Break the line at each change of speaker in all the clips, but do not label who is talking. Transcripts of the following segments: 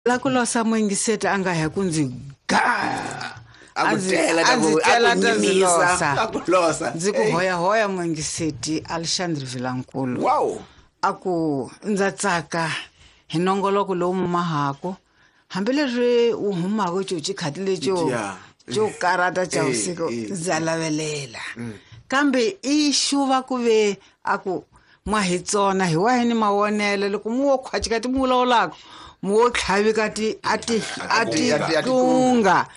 La ku losa muyingiseti a nga ya ku ndzi ga.
A ku tela
a
ta
ndzi
ku- a
tela
ku
ta ndzi
nyimisa,
losa.
a ku losa.
Ndzi ku
Ey.
hoyahoya muyingiseti Alexandre Vilankulu.
Wow.
A ku ndza tsaka hi nongoloko lowu mumahaku hambileswi wu humaka xo xikhati lexo
Yeah.
xo karata xa
Eh,
vusiku
eh.
ndza lavelela kambe i xuva ku ve a ku mwa hi tsona hi wahi ni mavonelo loko mu wo khwacika ti mu vulavulaka mu wo tlhavika ti a ti a ti
A ti- a ti
tunga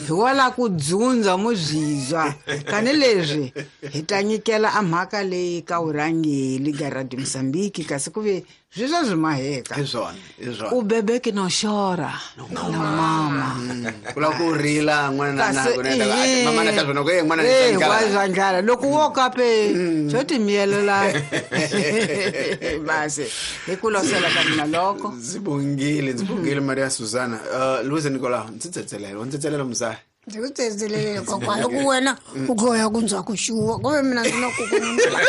hi wa la ku dzundza mu byizwa tanihileswi hi ta nyikela a mhaka leyi ka vurhangeli ga Radio Mozambique kasi ku ve swi swa swi maheka
Hi swona, hi swona.
U bebeke no xora na mama
Ku lava ku rila n'wana na
kasi
na ku na mama na ta swona ku n'wana ni
eh,
twa ndlala.
wa zwa ndlala loko wo kape xo timiyelela basi hi ku losela ka mina loko
Ndzi bongile, ndzi bongile Maria Susana. Luisa Nicolau, ndzi tsetselela, ndzi tsetselela muzaya.
Ndzi ku tsetselelele kokwana loko wena u kha u ya ku ndzhaku xuwa ku ve mina ndzi na kukununula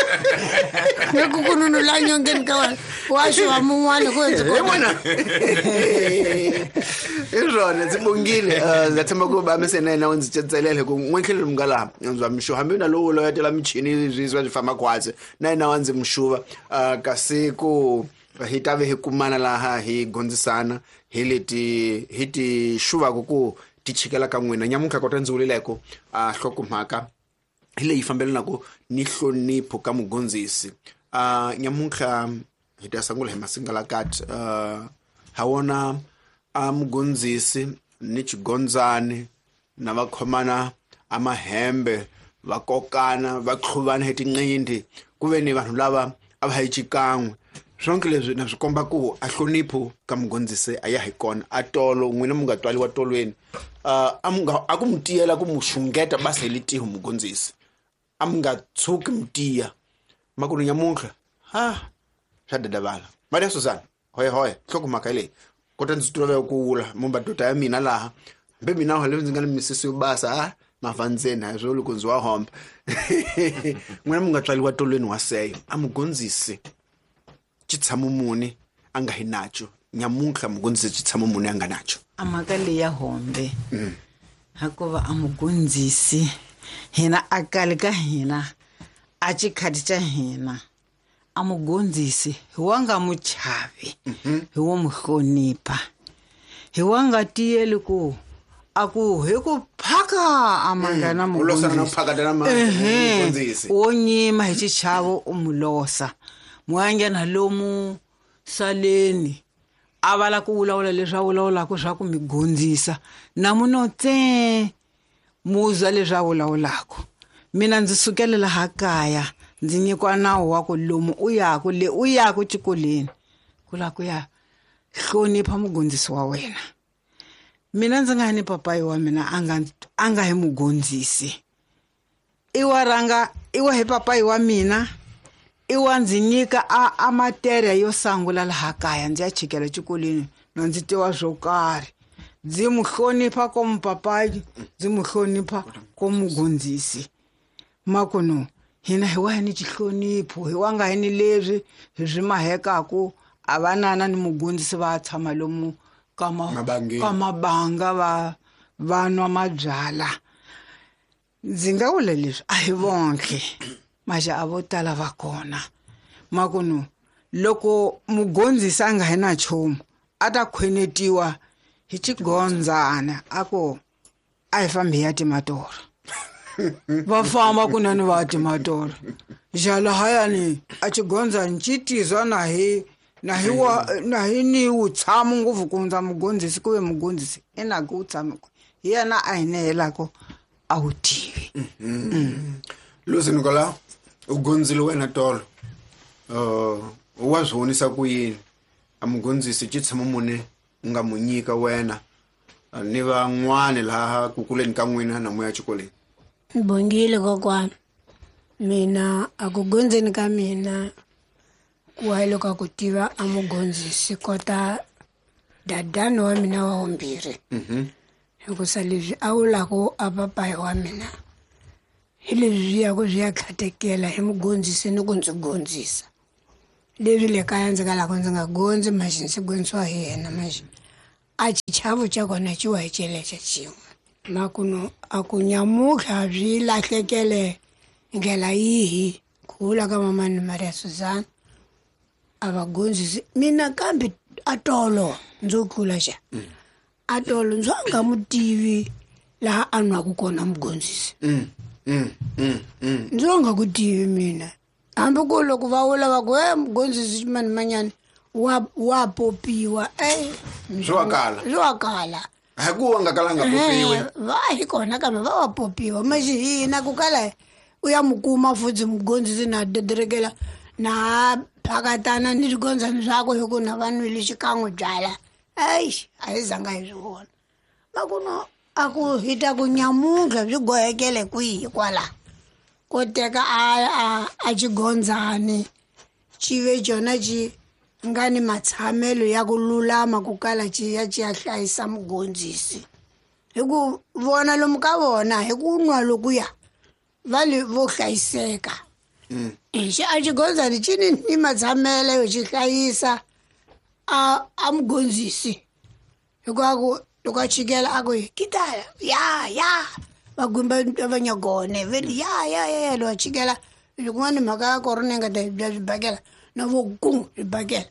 ni kukununula nyongeni ka wena wa xuwa mun'wana ku ndzi
Hi n'wana. Hi swona ndzi bongile. Ndza tshemba ku va mise na yena u ndzi tsetselela hi ku n'we mi nga laha ndzi wa mixuva hambi na lowu loyetela michini swi swi famba khwatsi na yena wa ndzi mixuva. Kasi ku hi ta ve hi kumana laha hi gondzisana hi leti hi ti xuvaku ku ti chikela ka n'wina nyamuntlha kota ndzi vuleleko a nhlokomhaka hi leyi fambelanaka ni nhlonipho ka mugondzisi. Nyamuntlha hi ta sungula hi masingalakati. Ha wona a mugondzisi ni xigondzani na va khomana a mahembe va kokana va qhuvana hi tinqindi ku ve ni vanhu lava a va hi xikan'we swonke leswi na swi komba ku a hlonipho ka mugondzisi a ya hi kona a tolo n'wina mu nga twaliwa tolweni. A mu nga a ku mu tiyela ku mu xungeta basa hi litiho mugondzisi a mu nga tshuki mu tiya makunu nyamuntlha ha swa dadavala Maria Susana hoya hoya nhlokomhaka hi leyi kota ndzi tolovela ku wula mumba dota ya mina laha hambi mina hambi ndzi nga ni misisi yo basa ha mafa ndzeni ha swo loko ndzi wa homba n'wina mu nga tswaliwa tolweni wa seyo a mugondzisi xitshamo muni a nga hi nacho nyamuntlha mugondzisi xitshamo muni a nga nacho
a mhaka leyi ya hombe hikuva a mugondzisi hina a kali ka hina a xikhati xa hina a mugondzisi hi wa nga mu chavi hi wo mu hlonipha hi wa nga tiyeli ku a ku hi ku phaka a mangana
U losana na ku phakata na mugondzisi.
wo nyima hi xichavo u mu losa mu ya nghena lomu saleni a va la ku vulavula leswi a vulavulaka swa ku mi gondzisa na muno tse muzwa leswi a vulavulaka mina ndzi sukele laha kaya ndzi nyikiwa nawu wa ku lomu u yaku le u yaku xikolweni ku lava ku ya hlonipha mugondzisi wa wena mina ndzi nga ni papayi wa mina a nga hi mugondzisi i wa rhanga i wa hi papayi wa mina i wa ndzi nyika a materia yo sungula laha kaya ndzi ya chikela xikolweni na ndzi tiva swo karhi ndzi mu hlonipha ko mupapayi ndzi mu hlonipha ko mugondzisi makuno hina hi wa hi ni xihlonipho hi wa nga hi ni leswi hi swi mahekaku a vanana ni mugondzisi va tshama lomu ka
Mabangeni.
ka mabanga va nwa mabyala ndzi nga vula leswi a hi vonke maxa a vo tala va kona makuno loko mugondzisi a nga hi na nchumu a ta khwenetiwa hi xigondzana a ku a hi fambi hi ya timatora va famba kunene va ya timatora xalahayani a xigondzani xi tizwa na hi na hi wa na hi ni wutshamo ngopfu ku hundza mugondzisi ku ve mugondzisi i na ku wutshamo hi yena a hi nehelaka a wu tivi.
Lucy Nicolau u gondzile wena tolo. Wa swi vonisa ku yini a mugondzisi xitshamo muni u nga mu nyika wena ni van'wani laha ku kuleni ka n'wina na moya xikolweni?
Bongile kokwana mina a ku gondzeni ka mina ku wa loko a ku tiva a mugondzisi kota dadani wa mina wa vumbirhi hikusa leswi a wulaku a papayi wa mina hi leswi swi ya ku swi ya khatekela hi mugondzisi ni ku ndzi gondzisa leswi le kaya ndzi nga lava ndzi nga gondzi maxi ndzi gondzisiwa hi yena maxi A xichavo xa kona xi wa hi xelexa xin'we. Makuno a ku nyamutlha byi lahlekele ndlela yihi ku vula ka mamani Maria Suzana a va gondzisi mina kambe a tolo ndzo tlula xa a tolo ndzo a nga mu tivi laha a nwaku kona mugondzisi. Ndzo nga ku tivi mina hambi ku loko va vula va ku e mugondzisi mani manyani wa popiwa e
swi wa kala
swi wa kala
hi ku wa nga kalanga popiwe
va hi kona kambe va wa popiwa maxi hina ku kala u ya mu kuma futhi mugondzisi na dederekela na phakatana ni swigondzani swakwe hi ku na va nwile xikan'we byala eish a hi zanga hi swi vona makuno a ku hi ta ku nyamuntlha byi gohekele kwihi kwala ko teka a xigondzani xi ve xona xi nga ni matshamelo ya ku lulama ku kala xi ya xi ya hlayisa mugondzisi hi ku vona lomu ka vona hi ku nwa lokuya va le vo hlayiseka. Xi a xigondzani xi ni matshamelo yo xi hlayisa a mugondzisi hikuva ku loko a chikela a ku kitala ya ya va gumba va nyagone ve ya ya ya loko a chikela loko mhaka ya korona yi nga ta bya swibakela na vo ku swibakela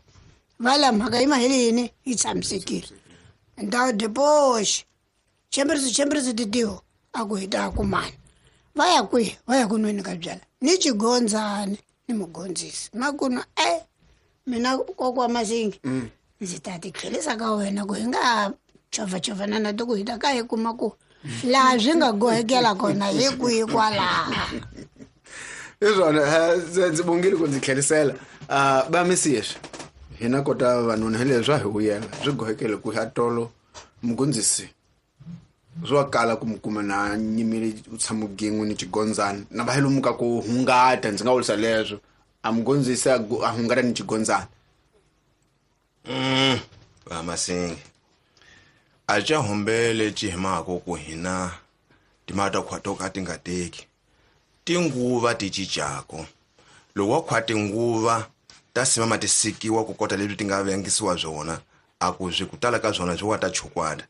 va la mhaka yi mahele yini yi tshamisekile ndhawu depoxi chemberisi titiho a ku hi ta kumana va ya kwihi va ya ku nweni ka byala ni xigondzani ni mugondzisi makuno e mina kokwa Masingi ndzi ta ti tlhelisa ka wena ku hi nga chovachovana na ti ku hi ta ka hi kuma ku laha swi nga gohekela kona hi kwihi kwalaha.
Hi swona ndzi bongile ku ndzi tlhelisela va misiyeswi hina kota vavanuna hi leswi swa hi vuyela swi gohekele ku ya tolo mugondzisi swi wa kala ku mu kuma na nyimile u tshama gin'we ni xigondzani na va hi lomu ka ku hungata ndzi nga vurisa leswo a mugondzisi a hungata ni xigondzani.
Va Masingi a ca humbele ci hi mhaka ku hina timhaka ta khwa to ka ti nga teki tinguva ti cincako loko wa khwa tinguva ta simama ti sikiwa ku kota leswi ti nga vengisiwa swona a ku swi ku tala ka swona swi wa ta chukwata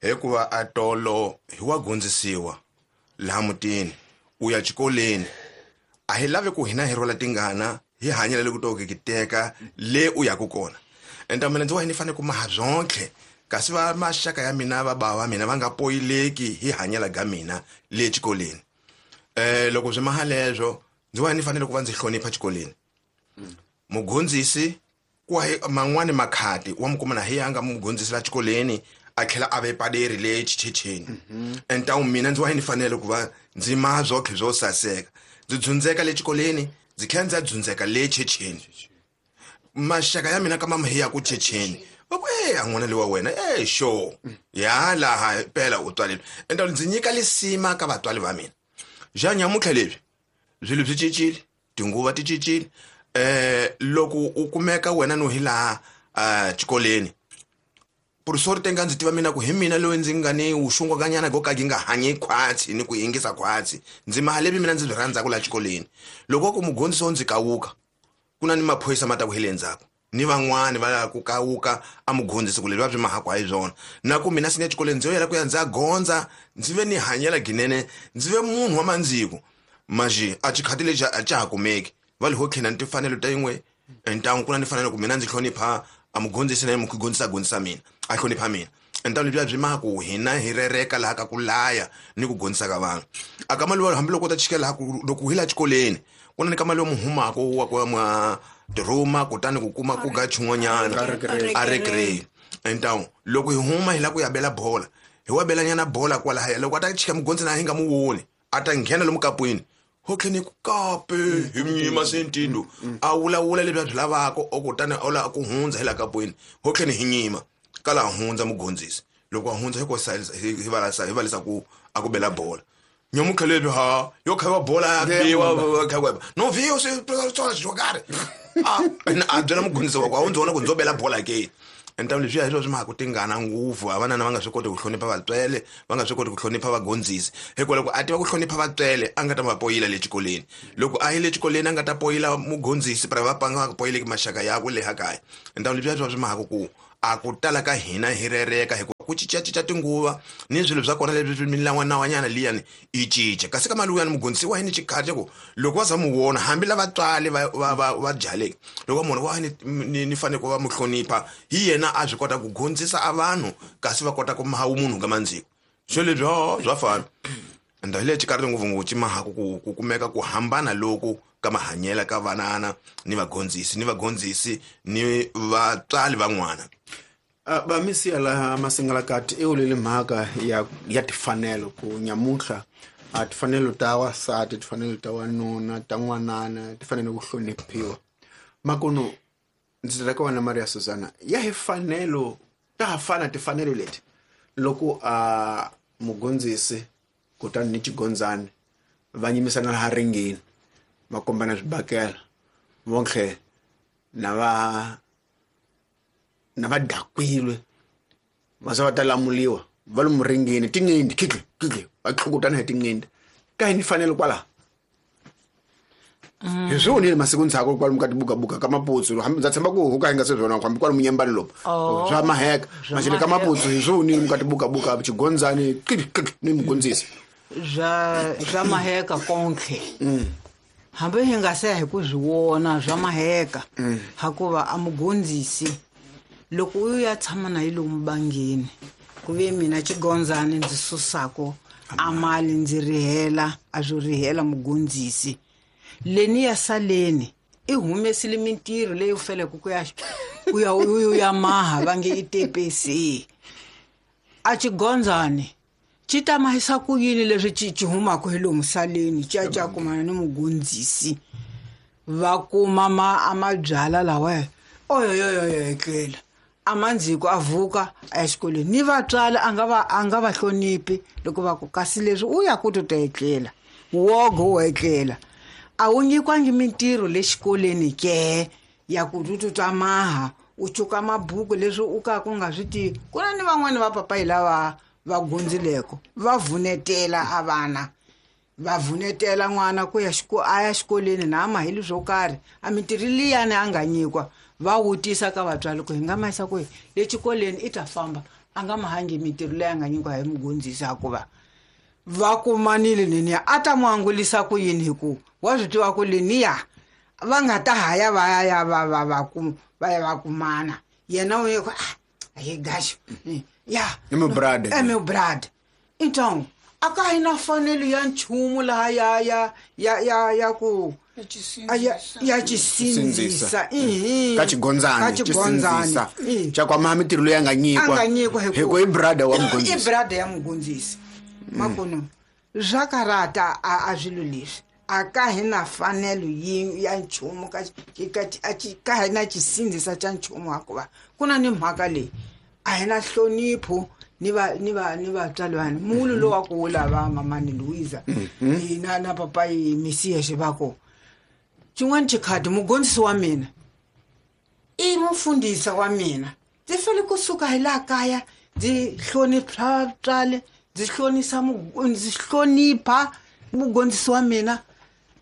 hikuva a tolo hi wa gondzisiwa laha mutini u ya xikolweni a hi lavi ku hina hi rhwala tingana hi hanyela le ku to ki teka le u yaku kona enta mina ndzi wa ni fanele ku maha byonke kasi va maxaka ya mina va bava mina va nga poyileki hi hanyela ga mina le xikolweni loko swi maha leswo ndzi wa ni fanele ku va ndzi hlonipha xikolweni mugondzisi ku man'wani makhati wa mu kuma na hi ya nga mugondzisi la xikolweni a tlhela a ve paderi le xichecheni enta mina ndzi wa ni fanele ku va ndzi maha byonke byo saseka ndzi dzundzeka le xikolweni ndzi tlhela ndzi dzundzeka le checheni maxaka ya mina kama hi ya ku checheni va ku e a n'wana lewa wena e xo ya laha pela u tswalile enta ndzi nyika lisima ka vatswari va mina ja nyamutlha leswi swilo swi cincile tinguva ti cincile loko u kumeka wena no hi laha xikolweni professor tenga ndzi tiva mina ku hi mina loyi ndzi nga ni wuxungwakanyana go ka gi nga hanyi khwatsi ni ku yingisa khwatsi ndzi mahalevi mina ndzi byi rhandzaka laha xikolweni loko ku mugondzisi wo ndzi kawuka ku na ni maphorisa ma ta ku hi le ndzhaku ni van'wani va ku kawuka a mugondzisi ku leswi va byi mahaku hi swona na ku mina sini exikolweni ndzi yo yela ku ya ndzi ya gondza ndzi ve ni hanyela ginene ndzi ve munhu wa mandziko maxi a xikhati lexi a xa ha kumeki va le ho tlhela ni timfanelo ta yin'we ntangu ku na ni fanele ku mina ndzi hlonipha a mugondzisi na ye mugondzisi a gondzisa mina a hlonipha mina ntangu lebyiya byi maha ku hina hi rereka laha ka ku laya ni ku gondzisa ka vanhu a ka mali wa hambiloko u ta chikela laha ku loko hi laha xikolweni ku na ni ka mali yo muhumako wa ku mwa tirhuma kutani ku kuma ku ga xin'wanyana a recreate ntangu loko hi huma hi lava ku ya bela bola hi wa belanyana bola kwalahaya loko a ta chika mugondzisi na hi nga mu voni a ta nghena lomu kapwini ho tlhela ku kape hi nyima sentindo a vulavula leswi a byi lavaka o kutani a lava ku hundza hi la kapwini ho tlhela hi nyima kala hundza mugondzisi loko a hundza hi ko hi valisa ku a ku bela bola nyamutlha lebyi ha yo khayiwa bola ya biwa khayiwa no vhiyo swi tsona swo karhi a byela mugondzisi wa ku a wu ndzi vona ku ndzo bela bola ke enta leswiya hi swo swi mhaka ku tingana ngopfu havanana va nga swi koti ku hlonipha vatswele va nga swi koti ku hlonipha vagondzisi hikwalaho a tiva ku hlonipha vatswele a nga ta va poyila le xikolweni loko a yi le xikolweni a nga ta poyila mugondzisi pra va panga va poyileki maxaka yakwe leha kaya enta leswiya swa swi mhaka ku A ku tala ka hina hi rereka hi ku cincacinca tinguva ni swilo swa kona leswi milawanawanyana liyani i cinca kasi ka mali wuyani mugondzisi wa yini xikhati ku loko va za mu vona hambi lava tswali va byaleke loko va munhu wa ni fanele ku va mu hlonipha hi yena a swi kota ku gondzisa a vanhu kasi va kota ku maha munhu ka mandziko swo leswi swa fana ende hi le xikarhi ngopfungopfu ci mahaku ku kumeka ku hambana loku ka mahanyela ka vanana ni vagondzisi ni vagondzisi ni vatswali van'wana.
Vamisiya laha Masingalakati i wulile mhaka ya tifanelo ku nyamuntlha a tifanelo ta wasati tifanelo ta wanuna ta n'wanana ti fanele ku hloniphiwa makuno ndzi ta ka wena Maria Susana ya hi fanelo ta ha fana tifanelo leti loko a mugondzisi kutani ni xigondzani va nyimisana laha ringini va kombana swibakela vonke na va dakwile va za va ta lamuliwa va lomu ringini tinqindi khikhi khikhi va tlhukutana hi tinqindi ka hi ni fanele kwalaho hi swi vonile masiku ndzhaku kwalomu ka tibukabuka ka maputsu hambi ndza tshemba ku huka hi nga se swona hambi kwalomu nyembani lomu swa maheka maxele ka maputsu hi swi vonile muka tibukabuka xigondzani khikhi khikhi ni mugondzisi
swa maheka konke hambi hi nga se hi ku swi vona swa maheka hakuva a mugondzisi loko u ya tshama na yi lomu bangeni ku ve mina xigondzani ndzi susako a mali ndzi rihela a swo rihela mugondzisi leni ya saleni i humesile mintirho leyi u feleke ku ya u ya maha va nge i tepesi a xigondzani xi ta mahisa ku yini leswi xi humaka hi lomu saleni xi ya xi ya kumana ni mugondzisi va kuma a mabyala lawa oyoyoyo etlela a mandziko a vuka a ya xikolweni ni vatswali a nga va hloniphi loko va ku kasi leswi u ya ku to ta etlela wogo wo etlela a wu nyikwangi mintirho le xikolweni ke ya ku tu twa maha u cuka mabuku leswi u ka ku nga swi tivi ku na ni van'wani va papayi lava va gundzileko va vunetela a vana va vunetela n'wana ku ya a ya xikolweni na a maheli swo karhi a mintirho liyani a nga nyikwa va wutisa ka vatswari ku hi nga mahisa ku le xikolweni i ta famba a nga mahangi mintirho leyi a nga nyikiwa hi mugondzisi hikuva va kumanile leniya a ta n'wi angulisa ku yini hi ku wa swi tiva ku leniya va nga ta haya va ya va va va ku va ya va kumana yena u ye ku a hi gaxo ya
i meu brother
é meu brother então a ka hi na fanelo ya nchumu laha ya ya ya ya ya ku ya xisindzisa
ka xigondzani xisindzisa xa ku amaha mintirho leyi a nga nyikiwa hi ku i brother wa mugondzisi
i brother ya mugondzisi makuno swa karata a swilo leswi a ka hi na fanelo ya nchumu ka hi na xisindzisa xa nchumu hikuva ku na ni mhaka leyi a hi na nhlonipho ni vatswari vanhu mulu lowu wa ku wu lava mamani Louisa na papayi Mesias va ku xin'wana xikhadi mugondzisi wa mina i mufundhisi wa mina ndzi fanele kusuka hi laha kaya ndzi hlonipha vatswari ndzi ndzi hlonipha mugondzisi wa mina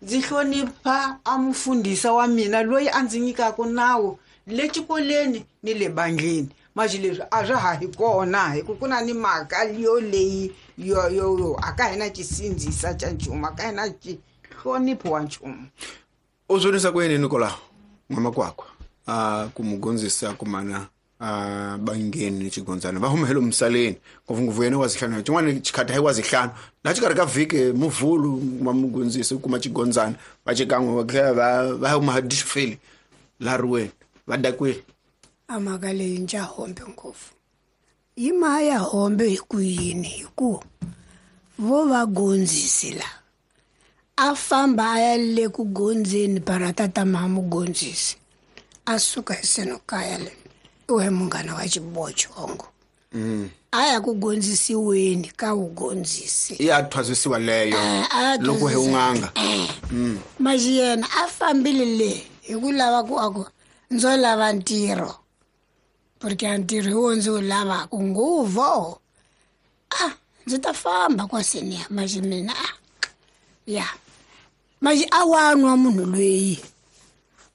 ndzi hlonipha a mufundhisi wa mina loyi a ndzi nyikaka nawu le xikolweni ni le bandleni manje leswi a swa ha hi kona hi ku ku na ni mhaka yo leyi yo yo a ka hina xisindzisa xa nchumu a ka hina hlonipho wa nchumu.
U swonisa ku yini Nicolau n'wamakwakwa a ku mugondzisi kumana a bangeni ni xigondzana va huma hi lomu misaleni ngopfungopfu yena wa zihlanu xin'wana xikhati hayi wa zihlanu laha xikarhi ka vhiki muvhulu kuma mugondzisi u kuma xigondzana va xikan'we va tlhela va huma dixifeli laha riweni va dakwile.
A mhaka leyi ndza hombe ngopfu yi mhaka ya hombe hi ku yini hi ku vo va gondzisi la a famba a ya le ku gondzeni barata ta maha mugondzisi a suka hi seno kaya le u he munghana wa xibochongo a ya ku gondzisiweni ka wugondzisi
ya thwasisiwa leyo loko hi un'anga
maxi yena a fambile le hi ku lava ku a ku ndzo lava ntirho porque a ntirho hi wo ndzi wu lavaka nguvo a ndzi ta famba kwaseniya maxi mina a ya maxi a wa nwa munhu loyi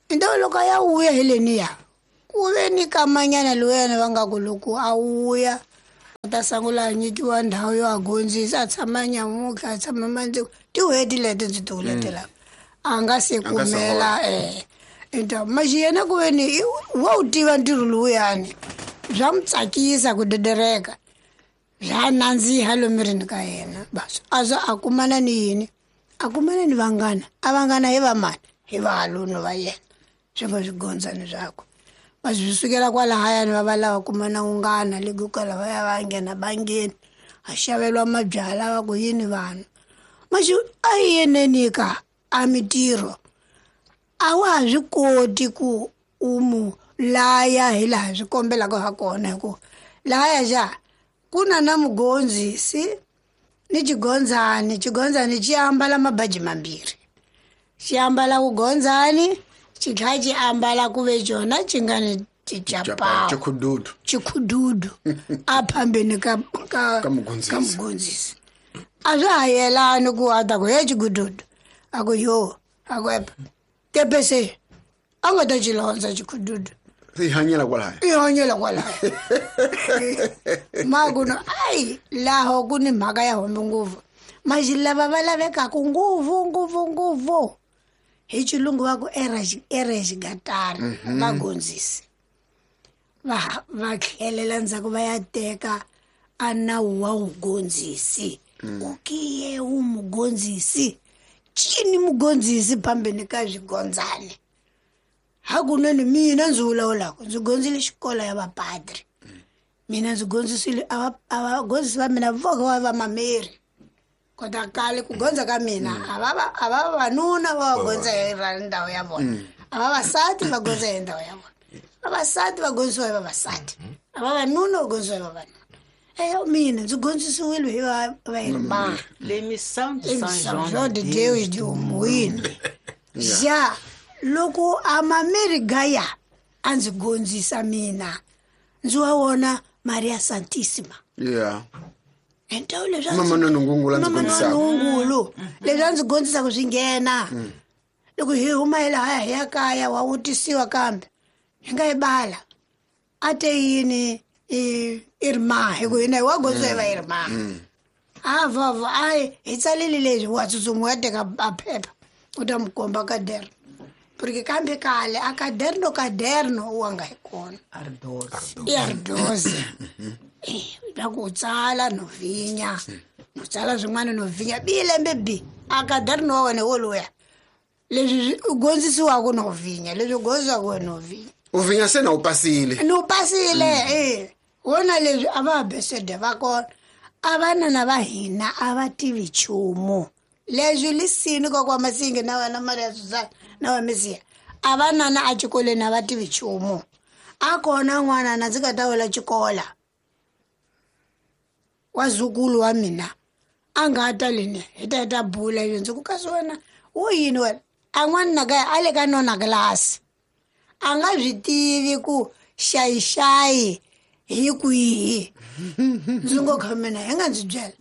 into loko a ya vuya hi leniya Ku ve ni kamanyana lowuyana va nga ku loko a wuya a ta sungula a nyikiwa ndhawu yo a gondzisa, a tshama nyamutlha, a tshama mandziko tin'hweti leti ndzi ti vuletelaka a nga se kumela enta maxi yena ku ve ni wa wu tiva ntirho lowuyani, swa n'wi tsakisa ku dedereka, bya nandziha lomirini ka yena. Bas a za a kumana ni yini, a kumana ni vanghana, a vanghana hi vamani, hi vahalunu va yena, swi nga swigondzani swakwe. Bas swi sukela kwalahayani va va lava kumana unghana le kwala va ya va nghena bangeni, a xaveriwa mabyalwa va ku yini vanhu. Maxi a yi yeneni ka a mitirho a wa ha swi koti ku u mu laya hi laha swi kombelaka ha kona, hi ku lahaya xa ku na na mugondzisi ni xigondzani, xigondzani xi ambala mabaji mambirhi, xi ambala vugondzani xi tlhela xi ambala ku ve xona xi nga ni xicapawu
xikhududu,
xikhududu a phambeni ka ka
Ka mugondzisi.
ka mugondzisi. A swa ha yelani ku a ta ku he xikhududu, a ku yo, a ku epa tepese a nga ta xi londza xikhududu,
i hanyela kwalaya,
i hanyela kwalaya. Makuno ayi laho ku ni mhaka ya hombe ngopfu, maxi lava va lavekaka ngopfu ngopfu ngopfu hi xilungu va ku erexigatara, vagondzisi va tlhelela ndzhaku va ya teka a nawu wa vugondzisi, u kiye wu mugondzisi cini mugondzisi phambeni ka swigondzani. Hakunene mina ndzi vulavulaka ndzi gondzile xikolo ya vapadri, mina ndzi gondzisile a vagondzisi va mina voka va vamameri, kota kale ku gondza ka mina a va vavanuna va va gondza hi ndhawu ya vona, a vavasati va gondza hi ndhawu ya vona, vavasati va gondzisiwa hi vavasati, a vavanuna va gondzisiwa hi vavanuna. Mina ndzi gondzisiwile hi va
L'émission de
Saint Jean de Deus de Umuini. Ja loko a mameri gaya a ndzi gondzisa mina ndzi wa wona Maria Santissima. Entawu leswi
Mama Nonongungulu a ndzi gondzisaka.
Nonongungulu leswi a ndzi gondzisaka swi nghena. Loko hi huma hi lahaya hi ya kaya wa vutisiwa kambe hi nga yi bala a te yini i ri hi ku hina hi wa gondzisa hi va i ri a vava a hi tsalile leswi wa tsutsuma wa teka a phepha u ta mi komba kaderno, porque kambe kale a kaderno kaderno wa nga hi kona
Ardosi
i ardosi va ku tsala no vhinya no tsala swin'wana no vhinya bi lembe bi a kaderno wa wena woluya leswi u gondzisiwaka no vhinya leswi u gondzisiwaka no vhinya
u vhinya se na u pasile
no pasile wona leswi a va besede va kona a vanana va hina a va tivi nchumu leswi lisini kokwa Masingi na wena Maria Susana na wa Mesiya a vanana a xikolweni a va tivi nchumu a kona n'wana na ndzi nga ta wela xikola wa zukulu wa mina a nga ta leni hi ta hi ta bula leswi ndzi ku kasi wena wo yini wena a n'wana na kaya a le ka nona kilasi a nga swi tivi ku xayixayi hi kwihi ndzi ngo kha mina hi nga ndzi byela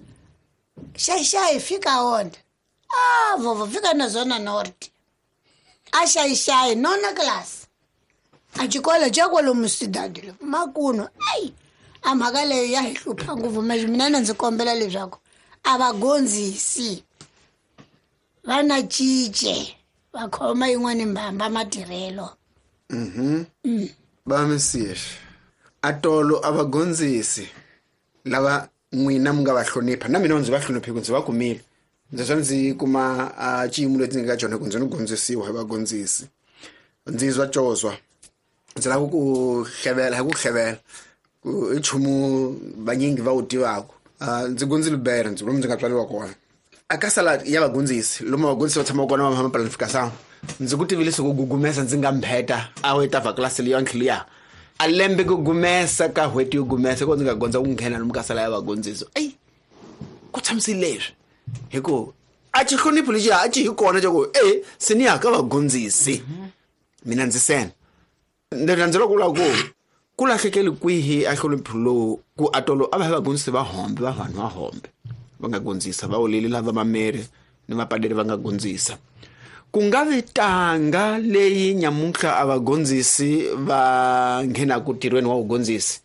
xayixayi fika onda a vovo fika na zona north a xayixayi nona kilasi a xikolo xa kwalomu cidade lo makuno ayi a mhaka leyo ya hi hlupha ngopfu maxi mina na ndzi kombela leswaku a va gondzisi va na cince va khoma yin'wani mbamba matirhelo.
Ba Mesiya atolo a va gondzisi lava n'wina mi nga va hlonipha na mina ndzi va hloniphe ku ndzi va kumile ndzi swa ndzi kuma a xiyimo lexi ndzi nga ka xona ku ndzi ni gondzisiwa hi vagondzisi ndzi zwa cozwa ndzi lava ku hlevela hi ku hlevela ku i nchumu vanyingi va wu tivaka. Ndzi gondzile bere ndzi lomu ndzi nga tswariwa kona a ka sala ya vagondzisi lomu vagondzisi va tshamaka kona va planification ndzi ku tivile ku gugumesa ndzi nga mbheta a wu ta va klasi leyi ya a lembe ku gumesa ka n'hweti yo gumesa ko ndzi nga gondza ku nghena lomu ka sala ya vagondzisi eyi ku tshamisile leswi hi ku a xihlonipho lexi a xi hi kona xa ku e se ni ya ka vagondzisi mina ndzi sena ndzi loko vula ku ku lahlekele kwihi a hlonipho lowu ku atolo a va hi vagondzisi va hombe va vanhu va hombe va nga gondzisa va oleli lava mameri ni vapaderi va nga gondzisa Ku nga vi tanga leyi nyamuntlha a vagondzisi va nghenaku ntirhweni wa vugondzisi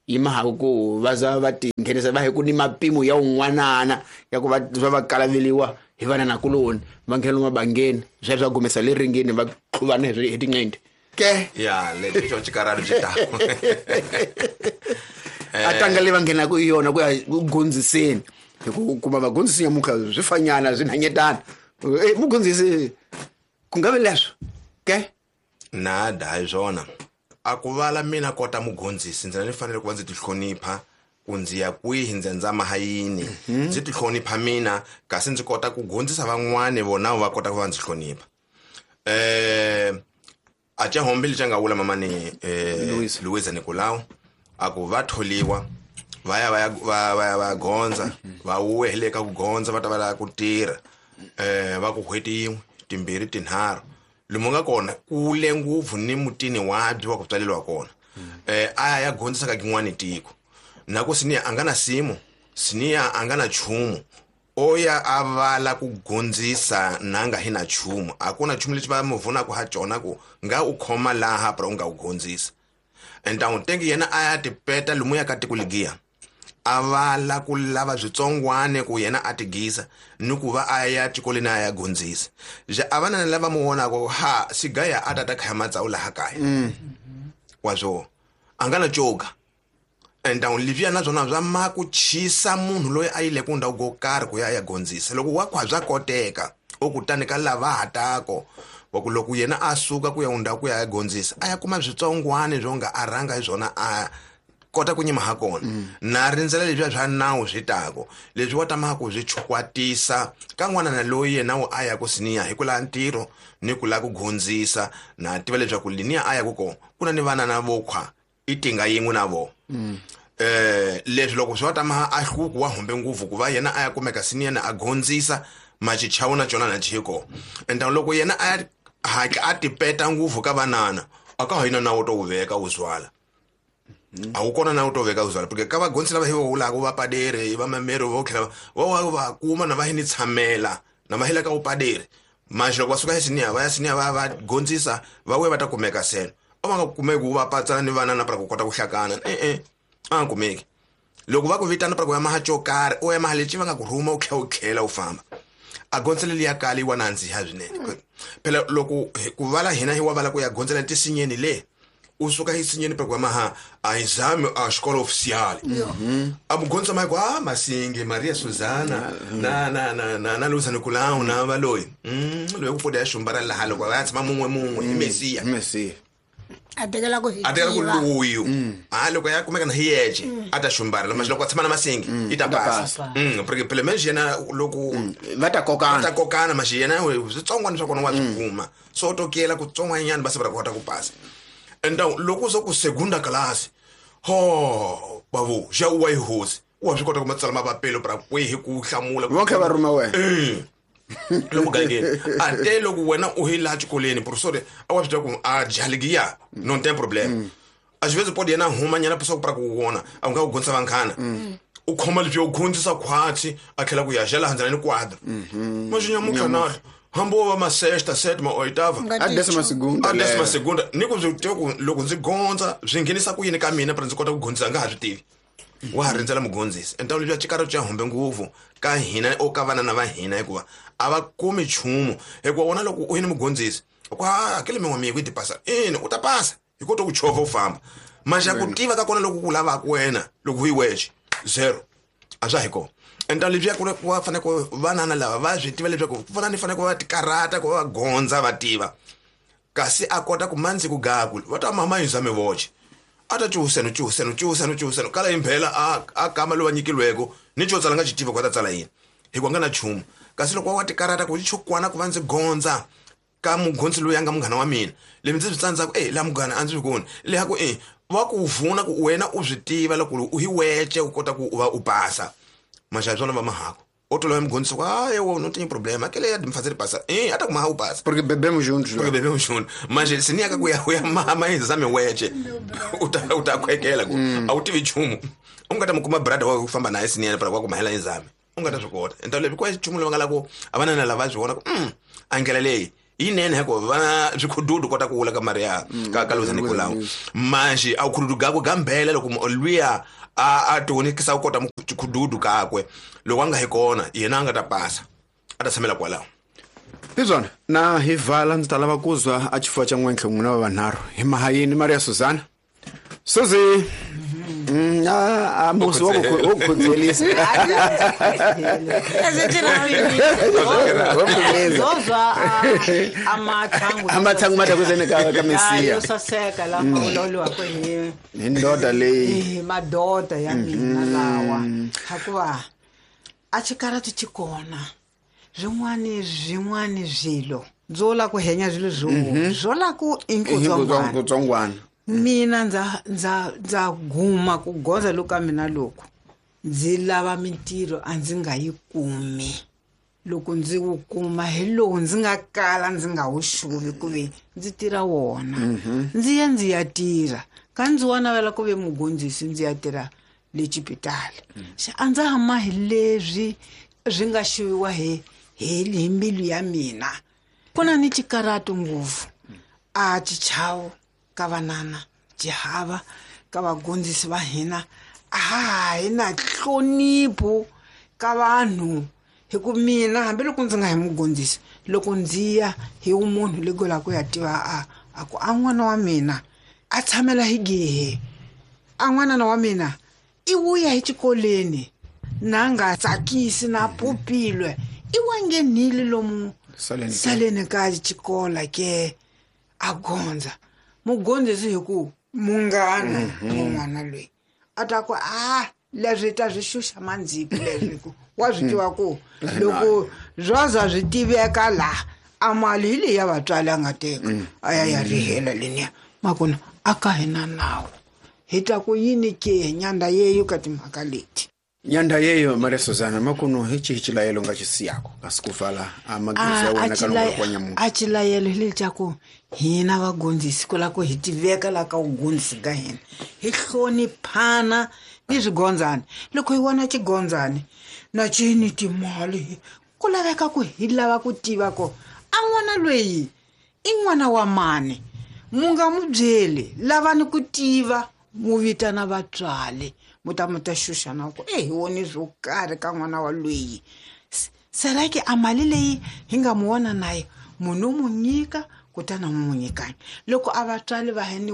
yi mahaku ku va za va ti nghenisa va hi ku ni mapimo ya un'wanana ya ku va va va kalaveliwa hi vananakuloni va nghena lomu mabangeni swa swa gumesa le ringeni va tlhuvana hi tinqindi ke
ya lexi xo xikarhalo xi ta
a tanga leyi va nghenaku hi yona ku ya ku gondziseni hi ku kuma vagondzisi nyamuntlha swi fanyana swi nhanyetana. Mugondzisi ku nga vi leswo ke
nada hi swona a ku vala mina kota mugondzisi ndzi ni fanele ku va ndzi ti hlonipha ku ndzi ya kwihi ndzi ndzama ha yini ndzi ti hlonipha mina kasi ndzi kota ku gondzisa van'wani vona va kota ku va ndzi hlonipha. A ca hombe lexi a nga vula mamani Luisa Nicolau a ku va tholiwa va ya va ya va va ya va gondza va wuwe ka ku gondza va ta va lava ku tirha va ku n'hweti yin'we timbirhi tinharhu lomu nga kona kule ngopfu ni mutini wabyi wa ku tswaleriwa kona a ya gondzisa ka kin'wani tiko na ku siniya a nga na simu siniya a nga na nchumu o ya a vala ku gondzisa na nga hi na nchumu a ku na nchumu lexi va mu vunaka ha cona ku nga u khoma laha pra u nga u gondzisa entawu tengi yena a ya tipeta lomu ya ka tiko ligiya a vala ku lava switsongwane ku yena a tigisa ni ku va a ya xikolweni a ya gondzisa je a vana lava mu vonaka ha sigaya a tata khaya matsawu laha kaya wa swo a nga na coga entawu leswiya na swona swa ma ku chisa munhu loyi a yile ku ndhawu ko karhi ku ya ya gondzisa loko wa khwa bya koteka o kutani ka lava hatako wa ku loko yena a suka ku ya ndhawu ku ya ya gondzisa a ya kuma switsongwane swo nga a rhanga hi swona a kota ku nyima ha kona na rindzela leswiya swa nawu swi tako leswi wa tamaka ku swi chukwatisa ka n'wana na loyi yena wu a ya ku siniya hi ku lava ntirho ni ku lava ku gondzisa na tiva leswaku liniya a ya ku kona ku na ni vana na vokhwa i tinga yin'we na vona leswi loko swi va tama a hluku wa humbe ngopfu ku va yena a ya kumeka siniya na a gondzisa machichawu na cona na chiko enta loko yena a ya hatla a tipeta ngopfu ka vanana a ka ha yina nawu to wu veka wu zwala a wu kona na wu to veka wu zwala porque ka vagondzisi lava hi va vulaka va padere va mameri vo tlhela va va kuma na va hi ni tshamela na va hela ka wu padere manje loko va suka esiniya va ya siniya va va gondzisa va vuya va ta kumeka seno a va nga kumeki ku va patsana ni vanana para ku kota ku hlakana a nga kumeki loko va ku vitana para ku ya maha xo karhi u ya maha lexi va nga ku rhuma u tlhela u tlhela u famba a gondzela liya kala yi wa nandziha swinene phela loko ku vala hina hi wa vala ku ya gondzela tisinyeni le u suka hi sinyeni para ku ya maha a exame a xikolo oficial a mugondzisa ma ku a Masingi Maria Susana na na na na na Luisa Nicolau na va loyi loyi ku poda ya xumbara laha loko va ya tshama mun'we mun'we hi Mesiya
Mesiya
a tekela ku
a tekela ku luyu a loko ya kumeka na hi yexe a ta xumbara lama loko a tshama na Masingi i ta pasa porque phela menje yena loko
va ta kokana
va ta kokana maxi yena switsongwana swa kona wa swi kuma so tokela ku tsongwanyana va se va kota ku pasa enta loko so ku segunda class ho bavu xa u wa yi hosi wa swi kota ku matsala mapapelo pra kwihi ku hlamula
va kha va rhuma wena
lomu gangeni a te loko wena u hi laha xikolweni professor a wa swi tiva ku a jaligiya non tem problème a xi vezi podi yena huma nyana posa ku pra ku vona a nga ku gondzisa vanghana u khoma leswi u gondzisa khwatsi a tlhela ku ya xa laha ndzela ni quadro maxinyamutlha na hambi wo va ma sexta sétima oitava
a décima segunda
a décima segunda ni ku swi tiva ku loko ndzi gondza swi nghenisa ku yini ka mina pra ndzi kota ku gondzisa nga ha swi tivi wa ha rindzela mugondzisi enta leswi xikaro xa humbe ngopfu ka hina o ka vanana va hina hikuva a va kumi nchumu hikuva wona loko u yini mugondzisi ku a hakele min'we miku yi ti pasa ina u ta pasa hi kota ku chovha u famba maxa ku tiva ka kona loko ku lavaka wena loko u yi wexe zero a swa hi kona enta leswiya ku va fanele ku vanana lava va swi tiva leswaku ku fana ni fanele ku va tikarata ku va va gondza va tiva kasi a kota ku mandzi ku gaku va ta mama yisa mi voxe a ta cuhuseno cuhuseno cuhuseno cuhuseno kala imphela a kama loyi va nyikilweko ni xo tsala nga xi tiva ku va ta tsala yini hikuva nga na nchumu kasi loko wa tikarata ku xikwana ku va ndzi gondza ka mugondzi loyi a nga munghana wa mina leswi ndzi swi tsandzaka e laha munghana a ndzi swi koni leha ku e va ku vuna ku wena u swi tiva loko u hi wece u kota ku u va u pasa maxavi swona va mahako o tolova mugondzisi ku hayi wo não tem problema aquele é de me fazer passar até como o passa
porque bebemos juntos
porque bebemos juntos mas se nem ku ya mama exame weche u ta khwekela ku a wu tivi nchumu u nga ta mu kuma brother wa ku famba naye siniyana para ku mahela exame u nga ta swi kota enta leswi kwa nchumu lowu nga la ku a vanana lava swi vona ku a ndlela leyi Yinene heko va swikhududu kota ku vula ka Maria ka Luza Nicolau manje a khududu gakwe gambela loko luya a tionikisa ku kota khududu kakwe loko a nga hi kona yena a nga ta pasa a ta tshamela kwalaho.
Hi swona na hi vala ndzi ta lava ku zwa a xifuva xa n'wentlhe n'wina va vanharhu hi mahayini Maria Susana Suzi. A musi wa ku khudzelisa.
Zozwa amathangu
amathangu matakuzeni ka Mesiya
yo saseka lama vulavuriwaka hi
hi ndoda leyi
hi madoda ya mina lawa hikuva a xikarati xi kona swin'wani swilo ndzo la ku henya swilo swo la ku i
nkutsongwana.
Mina ndza guma ku goza loku ka mina loko ndzi lava mintirho a ndzi nga yi kumi. Loko ndzi wu kuma hi lowu ndzi nga kala ndzi nga wu xuvi ku ve ndzi tirha wona. Ndzi ya ndzi ya tirha ka ndzi wa navela ku ve mugondzisi ndzi ya tirha le xipitali. Xa a ndza hama hi leswi swi nga xuviwa hi hi mbilu ya mina. Ku na ni xikarati ngopfu a xichavo ka vanana xihava ka vagondzisi va hina a hi na nhlonipho ka vanhu hi ku mina hambiloko ndzi nga hi mugondzisi loko ndzi ya hi munhu leko la ku ya tiva a ku a n'wana wa mina a tshamela hi gehe a n'wanana wa mina i vuya hi xikolweni na nga tsakisi na pupilwe i wa nghenile lomu saleni ka xikola ke a gondza mugondzisi hi ku munghana n'wana loyi a ta ku a leswi ta swi xuxa mandziki leswi ku wa swi tiva ku loko zwa swi tiveka laha a mali hi leyi ya vatswari a nga teka a ya ya rihela leniya makona a ka hina nawu hi ta ku yini ke nyanda yeyo ka timhaka leti.
Nyanda yeyo Maria Susana makuno hi xihi xilayelo nga xi siyako kasi ku vala a magezi ya wena ka loko kwa nyamuntlha.
A xilayelo hi lexaku hina vagondzisi ku la ku hi tiveka la ka vugondzisi ka hina hi hloniphana ni swigondzani. Loko hi vona xigondzani na xi ni timali ku laveka ku hi lava ku tiva ku a n'wana loyi i n'wana wa mani mu nga mu byeli lavani ku tiva mu vitana vatswari mu ta mu ta xuxana ku hi woni swo karhi ka n'wana wa loyi. Serake a mali leyi hi nga mu vona naye munhu u mu nyika kutani a mu nyikani. Loko a vatswari va hi ni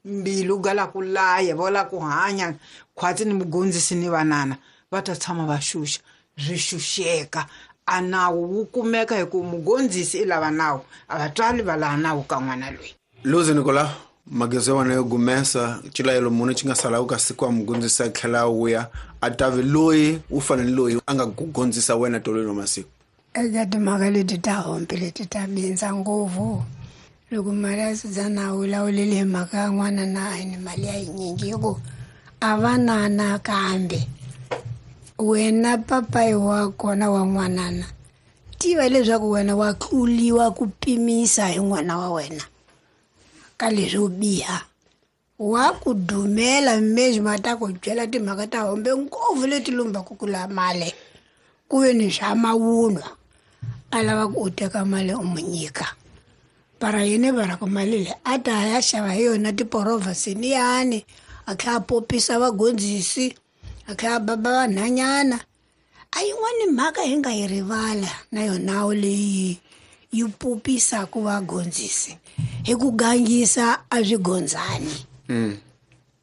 mbilu ga la ku laya va la ku hanya khwatsi ni mugondzisi ni vanana va ta tshama va xuxa swi xuxeka a nawu wu kumeka hi ku mugondzisi i lava nawu a vatswari va lava nawu ka n'wana loyi.
Luzi Nicolau magezi ya wena yo gumesa xilayelo muni xi nga salaka ka siku wa mugondzisi a tlhela a vuya a tavi loyi u fanele loyi a nga ku gondzisa wena tolweni wa masiku.
Eka timhaka leti ta hompe leti ta bindza ngopfu loko Maria Susana a vulavulile hi mhaka ya n'wana na a ni mali ya yinyingi hi ku a va nana kambe wena papayi wa kona wa n'wanana tiva leswaku wena wa tluliwa ku pimisa hi n'wana wa wena ka leswo biha wa ku dumela mezi ma ta ku byela timhaka ta hombe ngopfu leti lumbaku ku la mali ku ve ni swa mavunwa a lava ku u teka mali u mu nyika para yini va ku mali leyi a ta ya xava hi yona tiporovha seniyani a tlhela a popisa vagondzisi a tlhela a baba vanhanyana. A yin'wani mhaka hi nga yi rivala na yonawo leyi yi popisaka vagondzisi hi ku gangisa a swigondzani.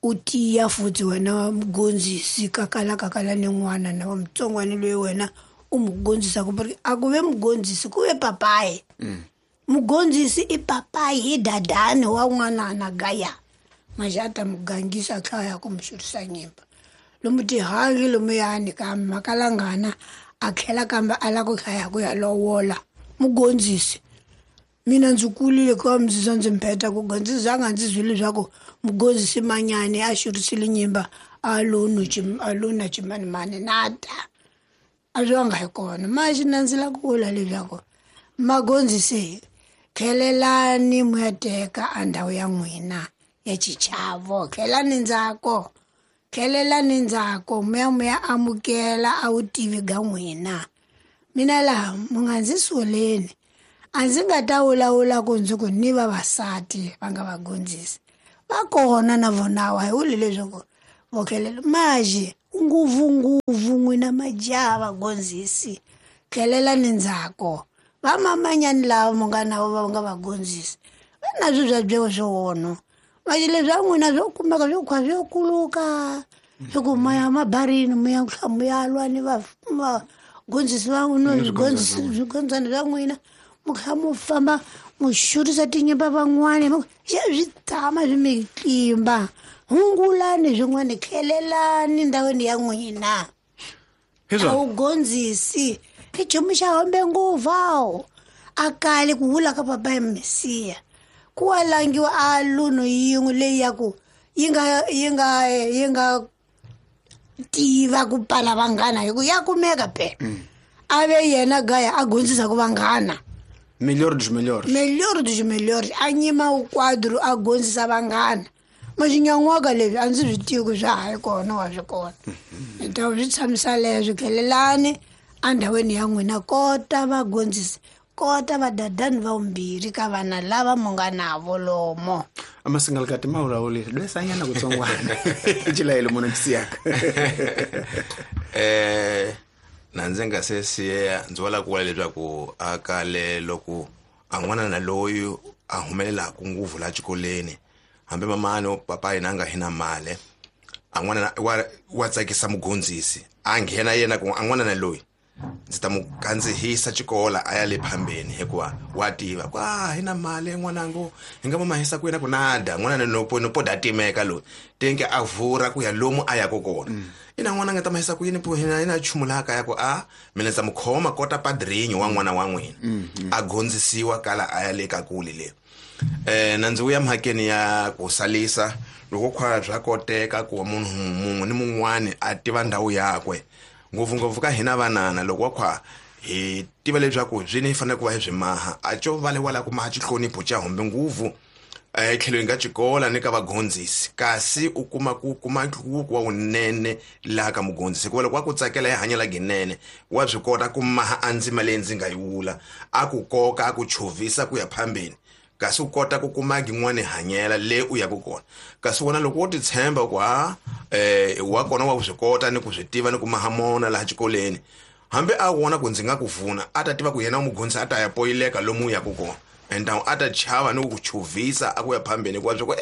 U tiya futhi wena mugondzisi kakala kakala ni n'wana na wa mutsongwana loyi wena u mu gondzisaka a ku ve mugondzisi ku ve papayi. Mugondzisi i papayi hi dadani wa n'wanana gaya manje a ta mu gangisa a tlhela ya ku mu xurisa nyimba lomu tihangi lomuyani kambe makalangana a tlhela kambe a lava ku hlaya ku ya lovola mugondzisi. Mina ndzi kulile ku va ndzi ndzi mpheta ku gondzisa a nga ndzi byeli leswaku mugondzisi manyani a xurisile nyimba a lo na ximanimani na ta a swi nga hi kona. Manje na ndzi lava ku vula leswaku magondzisi tlhelelani mu ya teka a ndhawu ya n'wina ya xichavo tlhelani ndzhaku tlhelelani ndzhaku mu ya amukela a vutivi ga n'wina. Mina laha mu nga ndzi soleni A ndzi nga ta vulavula ku ndzi ku ni vavasati va nga vagondzisi va kona na vonawa hi vuli leswaku vokelela maje ngopfungopfu n'wina majaha vagondzisi tlhelelani ndzhaku vamamanyani lava mu nga navo va nga vagondzisi va na swi swa byewo swi maje leswi a n'wina swo kumeka swo khwa swo kuluka hi ku maya mabarini mu ya mu ya lwa ni vagondzisi va n'wina swigondzani swa n'wina mu kha mu famba mu xurisa tinyimba van'wani swi tshama swi mi tlimba hungulani swin'wana tlhelelani ndhawini ya n'wina a wu gondzisi i nchumu xa hombe ngopfu a kale ku vula ka papa ya mesiya ku wa langiwa a lunu yin'we leyi ya ku yi nga yi nga yi nga tiva ku pala vanghana hi ku ya kumeka phela a ve yena gaya a gondzisa ku vanghana
melhor dos melhores
melhor dos melhores a nyima ukwadru a gondzisa vanghana maxinyan'waka leswi a ndzi swi tivi ku swa ha yi kona wa swi kona hi ta swi tshamisa leswo tlhelelani endhawini ya n'wina kota vagondzisi kota vadadani va vumbirhi ka vana lava mu nga navo lomo
amasingalikati ma vulavulile lwesanyana kutsongwana xilayelo munhu xisiyaka
na ndzi nga se siya ndzi wala ku vula leswaku a kale loko a n'wana na loyi a humelelaku ngopfu la xikolweni hambi mamani papa yena a nga hi na mali a n'wana wa tsakisa mugondzisi a nghena yena ku a n'wana na loyi ndzi ta mu kandzihisa xikola a ya le phambeni hikuva wa tiva ku a hi na mali n'wanangu hi nga mamahisa ku yena ku nada n'wana nopo nopo da timeka loyi tenke a vura ku ya lomu a yaka kona ina n'wana nga ta mahisa ku yini po hina hina nchumu laha kaya ku a mina ndzi ta mu khoma kota padrinho wa n'wana wa n'wina a gondzisiwa kala a ya le ka kule le na ndzi vuya mhakeni ya ku salisa loko khwa bya koteka ku munhu mun'we ni mun'wani a tiva ndhawu yakwe ngopfungopfu ka hina vanana loko wa khwa hi tiva leswaku byi ni fanele ku va hi byi maha a co va le wala ku maha xihlonipho xa hombe nguvu etlhelweni ka xikola ni ka vagondzisi kasi u kuma ku kuma nhluvuko wa wunene laha ka mugondzisi hikuva loko wa ku tsakela ya hanya la ginene wa swi kota ku maha a ndzima leyi ndzi nga yi vula a ku koka a ku chovhisa ku ya phambeni kasi u kota ku kuma yin'wani hanyela le u yaka kona kasi wona loko wo ti tshemba ku ha wa kona wa swi kota ni ku swi tiva ni ku maha mona laha xikolweni hambi a vona ku ndzi nga ku vuna a ta tiva ku yena mugondzisi a ta ya poyileka lomu u yaka kona ende a ta chava ni ku ku chovhisa a ku ya phambeni hikuva swa ku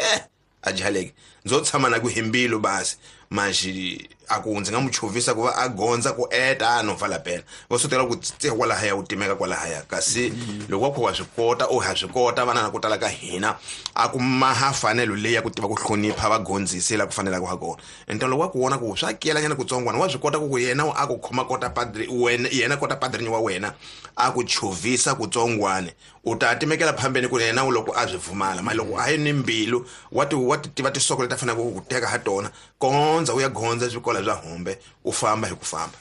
a jaleke ndzo tshama na ku hi mbilu basi maxi a ku ndzi nga mu chovhisa ku va a gondza ku eta no pfala pela va swi tela ku tse kwalahaya u timeka kwalahaya kasi loko wa kha wa swi kota u ha swi kota vana na ku tala ka hina a ku maha fanelo leyi ya ku tiva ku hlonipha vagondzisi la ku fanelaka ha kona ende loko wa ku vona ku swa kelanyana kutsongwana wa swi kota ku ku yena a ku khoma kota padri wena yena kota padrini wa wena a ku chovhisa kutsongwane u ta timekela phambeni ku yena loko a swi pfumala mali loko a yi ni mbilu wa ti wa ti tiva tisoko leti a faneleke ku ku teka ha tona kondza u ya gondza swikola swa hombe u famba hi ku famba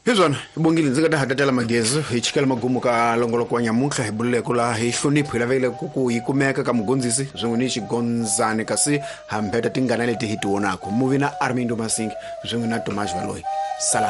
hi swona bongile ndzi nga ta hatatela magezi hi chikela magumu ka longoloko wa nyamuntlha hi bululeko laha hi hlonipho hi lavekile ku yi kumeka ka mugondzisi swin'we ni xigondzani kasi hambeta tingana leti hi ti vonaka muvi na Armindo Masingi swin'we na Tomas Valoyi salani.